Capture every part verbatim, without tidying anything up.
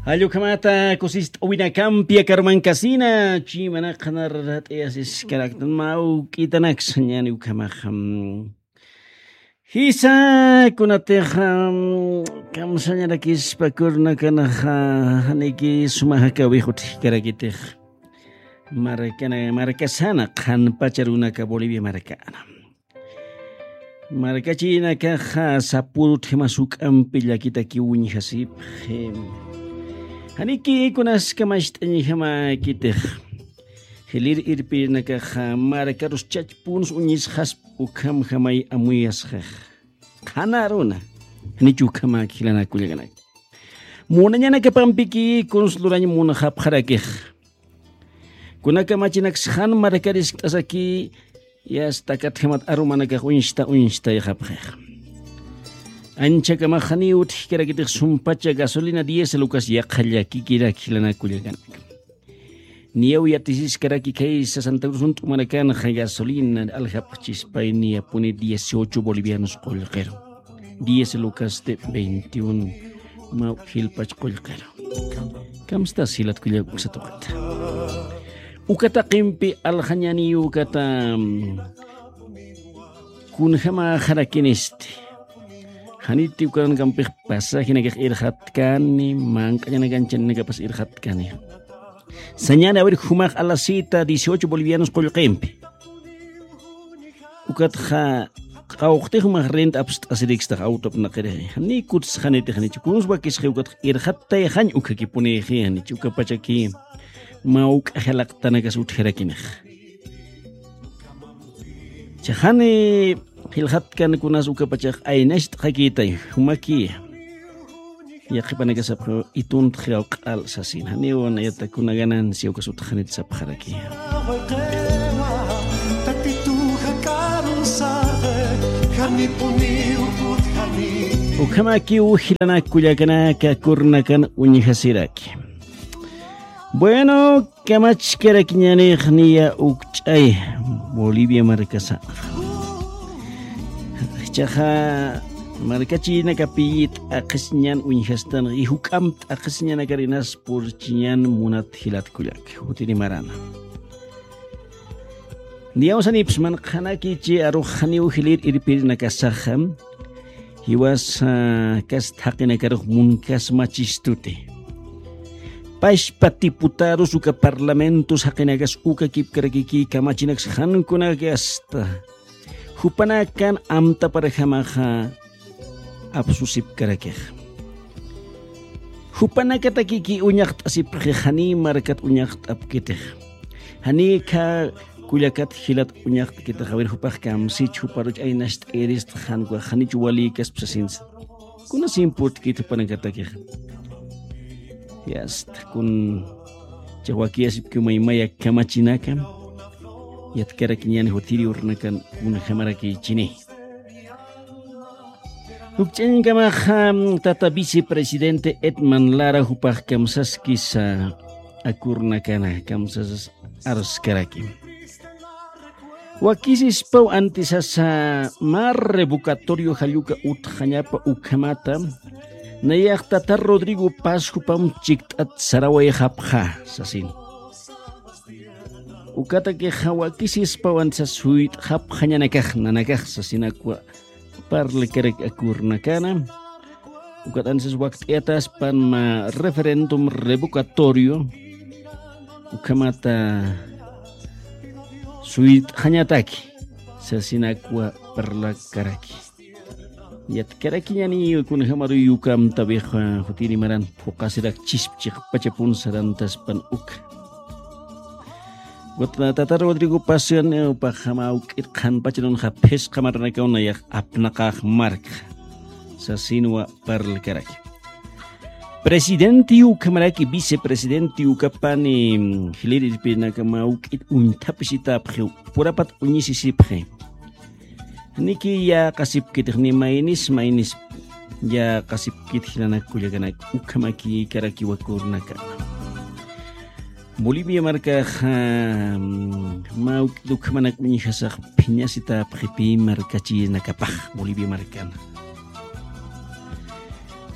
Allukhamata kusist'awinakampi akarumankasina, chimanaqanar rat'ayasiskaraktan mawk'itanaksa ñani ukhamaxa. Jisa kunatixa kamsañarakispa kurnakanaxa, janiki suma jakawix utjkarakitix. Markana, markasana qhanpacha runaka Bolivia markana. Markachinakaxa sapurut jimas juk'ampi llakitakiw uñjasipxi. Janiki kunaska macht'añjamäkitix. Jilir irpirinakaxa markarus chachpunus uñisxasp ukhamjamay amuyasxix. Qhanaruna. Janich ukhamäki jilanaka kullakanak. Munañanakapampiki kuns lurañ munxapxarakix. Kunaka machinaks jan markariskt'asaki, yasta katjamat arumanakax uñsta uñstayxapxix. Anchakamax janiw utjkarakitix sumpacha gasolina diésel ukas yaqha llakikirak jilanaka kullakanak. Niyaw yatisiskaraki khaysa Santa Cruz junt'umanakanxa gasolina aljapxchispay niyapuni dieciocho bolivianos qullqiru. Diez lucasti veintiún mä jilpach qullqiru. Kamstas jilat kullak uksa tuqita. Uka taqimpi aljañaniyu ukata, mm, kunjamäxarakinisti. Janiti ukanakampix pasajinakax irxatkani, manq'añanakanchaninakapas irxatkani. Sañani, a ver, jumax a la cita dieciocho bolivianos qullqimpi. Ukatxa qawqtix jumax rent apst'asirikstax auto apnaqirixi. Jani kutsxanitix janichu. Kuns wakisxi ukatxa irxattayxañ ukhakipunixi janichu. Ukapachaki mawk'a jilaqtanakas utjarakinixa. Chajani jilxatkan kunas ukapachax aynacht'xakitay, jumaki. Yaqhipanakasapxi ituntxi q'al sasin. Janiw nayata kuna ganancia ukas utxanit sapxaraki. Ukhamakiw jilanak kullakanaka kurnakan uñjasiraki. Bueno, kamachkarakiñanix niya ukch'ay Bolivia markasa. Jichhaxa markachinakapi t'aqhisiñan uñjastan, y juk'amp t'aqhisiñanakarinas purchiñan munat jilat kullak. Jutiri marana. Niyawsanipxsman qhanakichi arux janiw jilir irpirinakasaxa. Jiwas, ah, kast jaqinakarux munkas machistuti. Pachpa diputados uka parlamentos jaqinakas uka kipkarakiki kamachinaks jankunaki asta. Jupanakan amtaparjamaxa apsusipkarakix. Jupanakatakiki uñaqt'asipxi jani markat uñaqt'apkitix. Jani kha kullakat jilat uñaqt'kitix, a ver, jupax kamsich, juparuch aynacht'irist, janwa janich walikas psasinsa. Kunas importkit jupanakatakix. Yasta, kun chawakiyasipki maymaya kamachinaka. Yatkarakiñani jutiri urnakan kunjamarakichini. Ukch'añkamaxa, tata vicepresidente Edman Lara jupax kamsaskisa akurnakana, kamsas arskaraki. Wakisispaw antisasa mä revocatorio jalluka utxañapa ukhamata, nayax tata Rodrigo Paz jupam chikt'at sarawayxapxa, sasin. Ukatakixa wakisispaw antisas suyt'xapxañanakax, nanakax, sasinakwa parlakarak akurnakana. Ukat antisas wakt'ayataspan mä referéndum revocatorio. Ukhamata suyt'xañataki, sasinakwa parlakaraki. Yatkarakiñani kunjamaruy uka amtapix, ah, jutiri maran phuqasirak chispchix pachapun sarantaspan uka. Ukat tata Rodrigo Paz, eh, upax mä uk'it qhanpachanunxa phisqa maranakaw nayax apnaqax markxa. Sasinwa parlakaraki. Presidente ukhamaraki, vicepresidente ukapani, mm, jilir irpirinaka mä uk'it uñthapisitapxi, purapat uñisisipxi. Niki yäqasipkitix ni maynis maynis yäqasipkit jilanak kullakanak ukhamakïkarakiwa kurnaka. Bolivia markaxa, mm, mä uk'it ukhamanak uñjasax phiñasitäpxi pï markachinakapax Bolivia markana.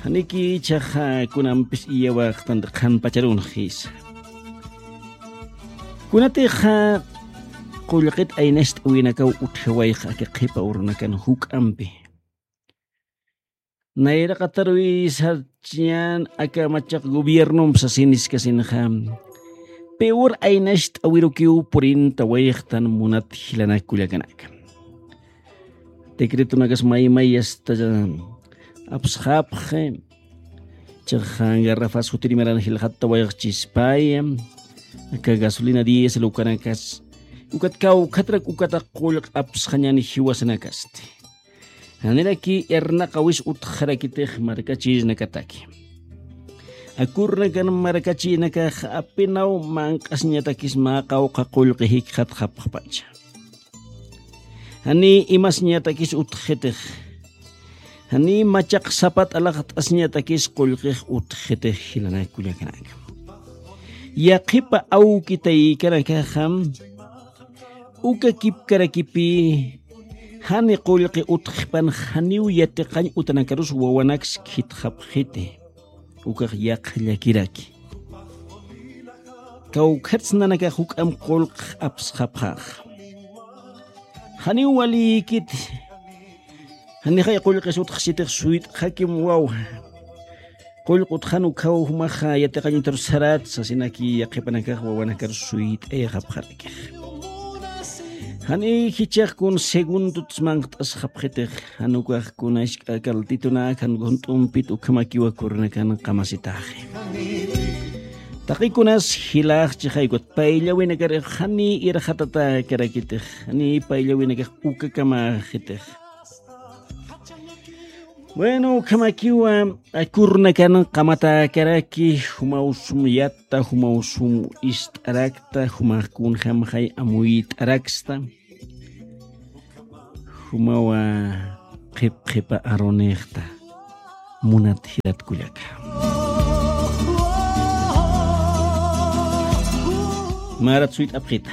Janiki ichaxa kunampis iyawaqtanti qhanpacharunxisa. Kunatixa qullqit aynacht'awinakaw utjawayxa aka qhipa urunakan juk'ampi. Nayraqatarwisarchiñan aka machaq gobiernompi sasiniskasinxa. Peor aynacht'awirukiw purintawayxtan munat jilanak kullakanaka. Decretonakas maymay asta apsxapxi. Chaxa garrafas jutirimaran jilxattawayxchispaya. Aka gasolina diésel ukanakas ukat kawkhatrak ukata qullq apsxañan jiwasanakasti. Janiraki irnaqawis utxarakitix markachisnakataki. Akurnakan markachinakax apinaw manq'asñatakis mä qawqha qullqi jikxatxapxpacha. Jani imasñatakis utxitix. Jani machaq sapat alaxt'asñatakis qullqix utxitix jilanak kullakanaka. Yaqhipa awkitaykanakaxam uka kipkarakipi jani qullqi utxpan janiw yatiqañ utanakarus wawanaks khitxapxiti. Ukax yaqha llakiraki. Kawkhatsnanakax juk'am qullq apsxapxax. Janiw walïkiti. Janixay qullqis utxsitix suyt'xakim waw. Qullq utxan ukhaw jumaxa yatiqañ utarus sarat sasinaki yaqhipanakax wawanakar suyt'ayxapxarakix. Jani jichax kun segundot manqt'asxapxitix jan ukax kuna isk'a kaltitunak jan junt'umpit ukhamakiwa kurnakan qamasitaxi. Taqikunas jilaxchixay ukat payllawinakarix jani irxatatäkarakitix jani payllawinakax ukakamaxitix. Bueno, ukhamakiwa akurnakan qamatäkaraki jumaw sum yatta jumaw sum ist'arakta jumax kunjamxay amuyt'araksta. Jumawa qhip qhipa arunixta munat jilat kullaka. Marat suyt'apxita.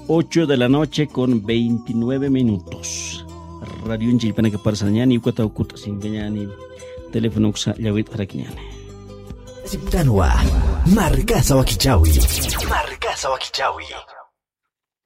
Ocho de la noche con veintinueve minutos. Radion chillpanaka parsañani ukataw kut'asinkañani. Telefonoksa llawit'arakiñani. Aceptanwa. Markasa wakichawi. Markasa wakichawi.